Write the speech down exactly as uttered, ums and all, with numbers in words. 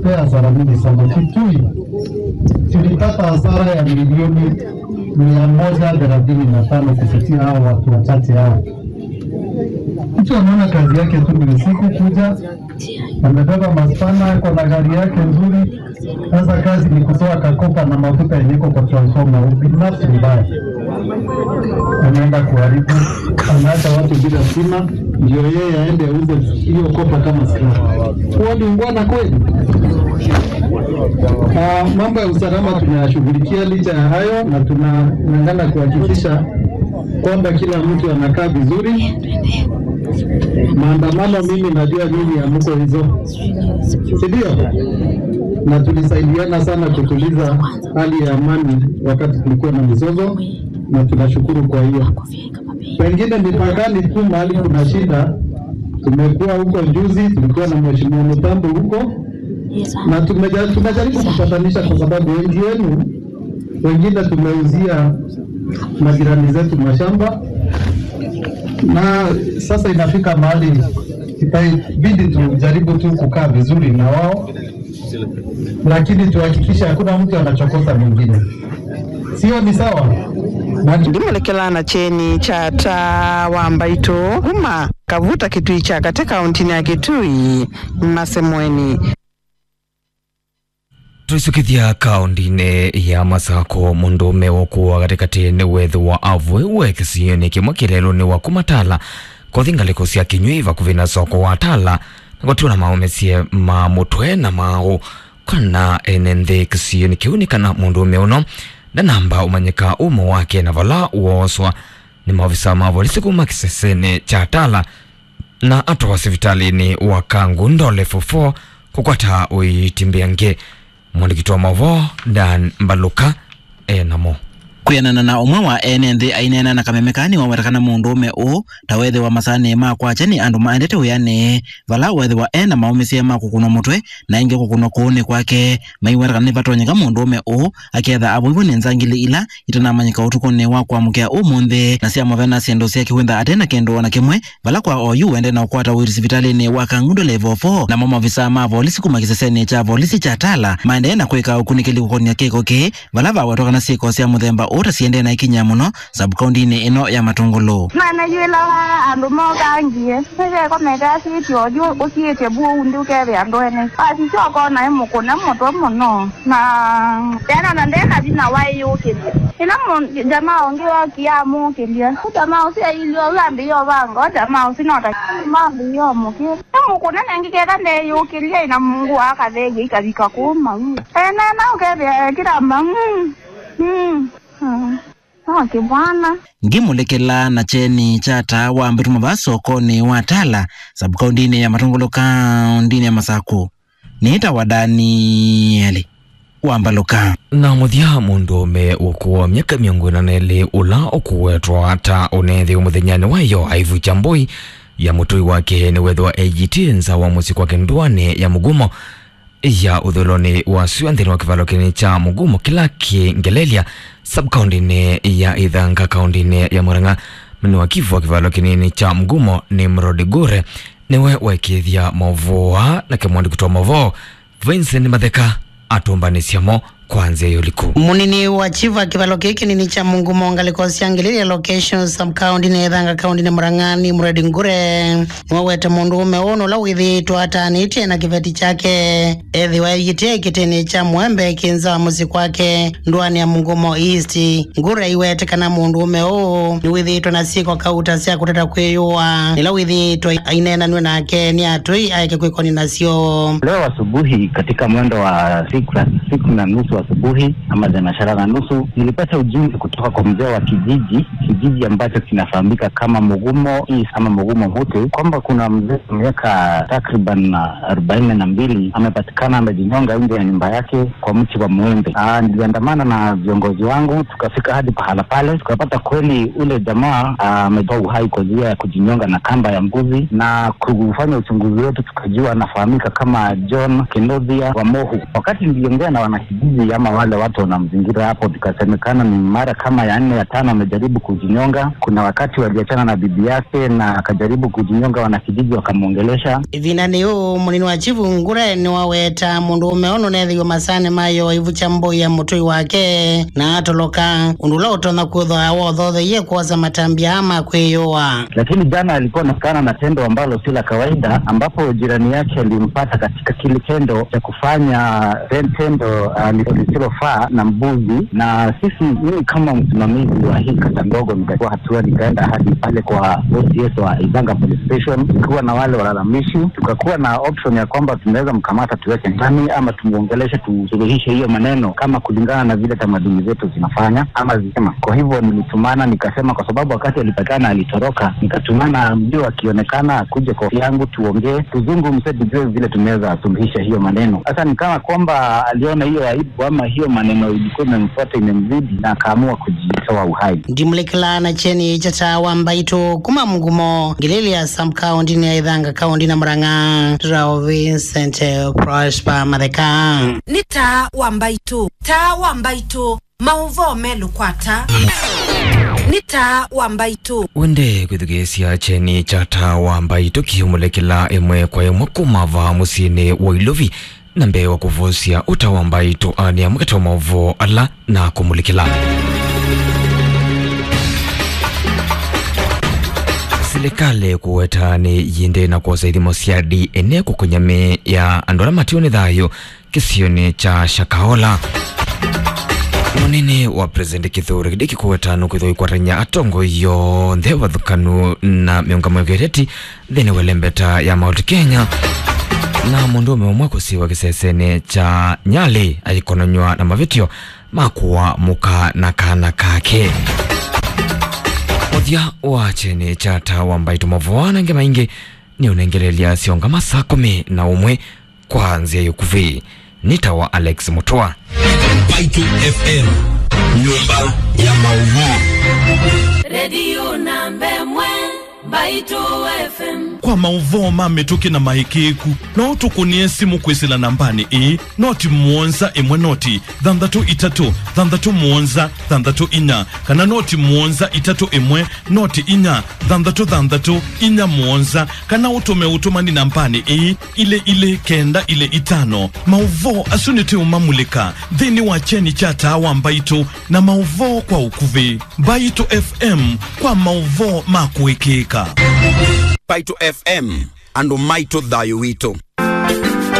Pea hasara mingi sana. Kitui tulipata hasara ya milioni mia moja thelathini na tano kupitia hao watu wachache hao. Mtu anaona kazi yake tu ni usiku kuja, amebeba maspana, ako na gari yake nzuri. Sasa kazi ni kutoa kakopa na mafuta yenye iko kwa transformer, ubinafsi mbaya. Anaenda kuharibu, anaacha watu bila stima, ndio yeye aende auze hiyo kopa kama scrap. Huo ni ungwana kweli? Ah, mambo ya usalama tunayashughulikia licha ya hayo, na tunang'ang'ana kuhakikisha kwamba kila mtu anakaa vizuri. Maandamano, mimi najua nyinyi hamko hizo, si ndio? Na tulisaidiana sana kutuliza hali ya amani wakati kulikuwa na mizozo, na tunashukuru kwa hiyo. Pengine mipakani tu mahali kuna shida, tumekuwa huko juzi, tulikuwa na Mheshimiwa Mutambo huko, na tumeja-, tumejaribu kupatanisha, kwa sababu wengi wenu, wengine tumeuzia majirani zetu mashamba, na sasa inafika mahali itabidi tujaribu tu kukaa vizuri na wao, lakini tuhakikishe hakuna mtu anachokoza mwingine. Sio, ni sawa? Na ndimulekela na kyeni kya taa wa mbaitũ kuma Kavuta Kitui kya katĩ kaũntĩnĩ ya Kitui, Masemweni. Tũisũkĩthya kaũntĩnĩ ya Masakũ, mũndũũme ũkũwa katĩkatĩ nĩwethĩwa avũĩwe kĩsionĩ kĩmwe kĩlelũnĩ wa kuma Tala kũthi ngalĩko sya Kĩnyũi vakuvĩ na soko wa Tala, na kũtiwa na maũmĩsye ma mũtwe na maaũ. Kana ene nthĩ kĩsionĩ kĩu nĩ kana mũndũũme ũno ndanamba ũmanyĩka ũmo wake na vala wooswa nĩ maovisa ma volisi kuma kĩsesenĩ kya Tala na atwawa sivitalĩnĩ wa Kangundo Level four kũkwata ũiiti mbeange. Mwandĩki wa maũvoo Dan Mbaluka e namo. Kwĩanana na ũmwe wa ene nthĩ aineena na kameme kaa, nĩwawetakana mũndũũme ũũ ta wethĩwa masanĩ ma kwakya nĩ andũ maendete wĩanĩ, vala wethĩwa e na maũmĩsye ma kũkũnwa mũtwe na ĩngĩ kũkũnwa kũũnĩ kwake. Maiwetakana nĩvatonyeka mũndũũme ũũ aketha avũiwe nĩ nzangili ila itanamanyĩka ũtukũnĩ wa kwamũkĩa ũmũnthĩ, na syamũvena syĩndũ sya kĩwĩntha ate na kĩndũ o na kĩmwe, vala kwa oyu wende na ũkwata ũiiti sivitalĩnĩ wa Kangundo Level four, namo maovisaa ma volisi kuma kĩsesenĩ kya volisi kya Tala maendee na kwĩka ũkunĩkĩli kũkonia kĩko kĩĩ, vala vawetwa kana syĩko sya mũthemba ũũ ta siendee na ikinyĩa mũno sub-kaũntĩnĩ ĩno ya Matũngũlũ. Manayĩlawa andũ mokangie, nĩvekomete asĩtye oyu ũsiĩtye vu ũu nthĩ ũkethĩa ndwene. Asisya ũkona ĩmũkũne mũtwe mũno. Na ena na ndeka vinya waĩ yũkĩlya. Ĩla mũ-, jamaa ũngĩ wokie amũkĩlya. Jamaa ũsu ailye ũu ambĩie ũvanga, jamaa ũsu no ta ambĩie ũmũkĩla. Amũkũna nengĩ keka ndeyũkĩlya ĩna Mungu akatheew'a ikavika kũu mau. Ena na ũkethĩa ekĩla mbamu. Mm. Mm. Ah. No kĩvwana. Ngĩmũlekela na kyeni kya taa wa mbĩtũma vaa sokonĩ wa Tala, sub-kaũntĩnĩ ya Matũngũlũ, kaũntĩnĩ ya Masakũ. Nĩtawa Danieli wa Mbaluka. Na mũthya, mũndũũme ũkũũ wa myaka mĩongo ĩna na ĩlĩ ũla ũkũwetwa ta ũneethĩwe mũthenyanĩ wa ĩyoo aivukya mbũi ya mũtũi wake nĩwethĩwa eyĩtĩe nza wa mũsyĩ kwake ndũanĩ ya Mũgumo ya ũthũĩlonĩ wa sua nthĩnĩ wa kĩvalo kĩnini kya Mũgumo kĩla kĩ Ngelelya, sub-kaũntĩnĩ ya Ithanga, kaũntĩnĩ ya Murang'a. Mũnene wa kivu wa kĩvalo kĩnini kya Mũgumo, Nimrod Gure, nĩwe waĩkĩĩthya maũvoo aa, nake mwandĩki wa maũvoo Vincent Matheka atũmbanĩsya mo kwa nzĩa ya ũliku. Mũnini wa chief wa kĩvalo kĩĩ kĩnini kya Mũgumo, ngalĩko sya Ngelelya location, sub-county nĩ Ithanga, county nĩ Murang'a, Nimrod Ngure, nĩwawete mũndũũme ũũ nũla wĩthĩĩtwe atanĩtye na kĩveti kyake ethĩwa eyĩtĩe kĩtĩnĩ kya mũembe kĩ nza wa mũsyĩ kwake ndũanĩ ya Mũgumo East. Ngure aiwete kana mũndũũme ũũ nĩwĩthĩĩtwe na syĩko kauta sya kũtata kwĩyũa, ĩla wĩthĩĩtwe aineenanw'e nake nĩ atũi aeke kwĩkoni nasyo. Leo asubuhi katika mwendo wa siku, siku na nusu asubuhi ama thenashara na nusu, nilipata ujumbe kutoka kwa mzee wa kijiji, kijiji ambacho kinafahamika kama Mugumo East ama Mugumo Mute, kwamba kuna mzee wa miaka takriban arobaini na mbili amepatikana amejinyonga nje ya nyumba yake kwa mti wa mwembe. Ah, niliandamana na viongozi wangu, tukafika hadi pahala pale, tukapata kweli ule jamaa, ah, ametoa uhai kwa njia ya kujinyonga na kamba ya mbuzi, na kufanya uchunguzi wetu tukajua anafahamika kama John Kinothia wa Mohu. Wakati niliongea na wanakijiji Kama wale watu wanamzingira hapo, tukasemekana ni mara kama ya nne, ya tano amejaribu kujinyonga. Kuna wakati waliachana na bibi yake na akajaribu kujinyonga, wanakijiji wakamwongelesha. Ĩvindanĩ yĩu, mũnini wa chifu Ngure nĩwaweta mũndũũme ũũ nũnethĩiwe masaanĩ ma ĩyoo aivukya mbũi ya mũtũi wake na atoloka, ũndũ ũla ũtonya kwĩthwa wothotheie kwosa matambya aa ma kwĩyũa. Lakini jana alikuwa anaonekana na tendo ambalo si la kawaida, ambapo jirani yake alimpata katika kile tendo cha kufanya ten-, tendo, ah, lisilofaa na mbuzi. Na sisi, mimi kama msimamizi wa hii kata ndogo, nikachukua hatua, nikaenda hadi pale kwa O C S wa Ithanga Police Station, tukiwa na wale walalamishi, tukakuwa na option ya kwamba tunaweza mkamata tuweke ndani ama tumuongeleshe, tusuluhishe hiyo maneno kama kulingana na vile tamaduni zetu zinafanya ama zinasema. Kwa hivyo nilitumana, nikasema, kwa sababu wakati alipatikana alitoroka, nikatumana mbio akionekana akuje kwa ofisi yangu tuongee, tuzungumze, tujue vile tunaweza suluhisha hiyo maneno. Sasa ni kama kwamba aliona hiyo aibu ama hiyo maneno ilikuwa imemfuata, imemzidi, na akaamua kujitoa uhai. Ndimulekela na kyeni kya Taa wa Mbaitũ kuma Mugumo, Ngilili ya Sam, kaũntĩnĩ ya Ithanga, kaũntĩ na Murang'a, Rao Vincent Prosper Matheka. Nĩ Taa wa Mbaitũ, Taa wa Mbaitũ, maũvoo melũ kwa Taa. Nĩ Taa wa Mbaitũ. Wende kwĩthukĩĩsya kyeni kya Taa wa Mbaitũ kĩũmulekela ĩmwe kwa ĩmwe kuma vaa mũsyĩnĩ wa Ilovi. Na mbee wa kũvosya ũta wa mbaitũ, aa nĩ amwe katĩ wa maũvoo ala na kũmulĩkĩla. Silikalĩ kũweta nĩ yĩendee na kwosa ithimo sya D N A kũkũnya mĩĩ ya andũ ala matiwe nĩ thayũ kĩsionĩ kya Shakahola. Mũnene wa President Kithure Kindiki kũweta nũkwĩthwa ĩkwatany'a atongoi yonthe vathũkanu na mĩũngamo ya kĩũteti nthĩnĩ wa ĩlembeta ya Mount Kenya, na mũndũũme ũmwe kũsiwa kĩsesenĩ kya Nyali aikonanywa na mavĩtyo ma kũa mũka na kana kake. Mũthya wa kyeni kya Taa wa Mbaitũ, maũvoo na angĩ maingĩ nĩ ũnengelelya syongama saa kũmi na ũmwe kwa nzĩa ya ũkuvĩ. Nĩ Taa wa Alex Mũtũa. Mbaitũ F M, nyũmba ya maũvoo. Redio namba ĩmwe, Mbaitũ F M. Kwa maũvoo ma mĩtũkĩ na maĩkĩĩku, no ũtũkũnĩe simũ kwĩsĩla nambanĩ ĩĩ, noti mũonza ĩmwe noti thanthatũ itatũ thanthatũ mũonza thanthatũ inya, kana noti mũonza itatũ ĩmwe noti inya thanthatũ thanthatũ inya mũonza, kana ũtũme ũtũmani nambanĩ ĩĩ, ilĩ ilĩ kenda ilĩ itano. Maũvoo asu nĩtũũmamulĩka nthĩnĩ wa kyeni kya Taa wa Mbaitũ na maũvoo kwa ũkuvĩ. Mbaitũ F M kwa maũvoo ma kũĩkĩĩka. Mbaitũ F M, andũ maitũ, thayũ witũ.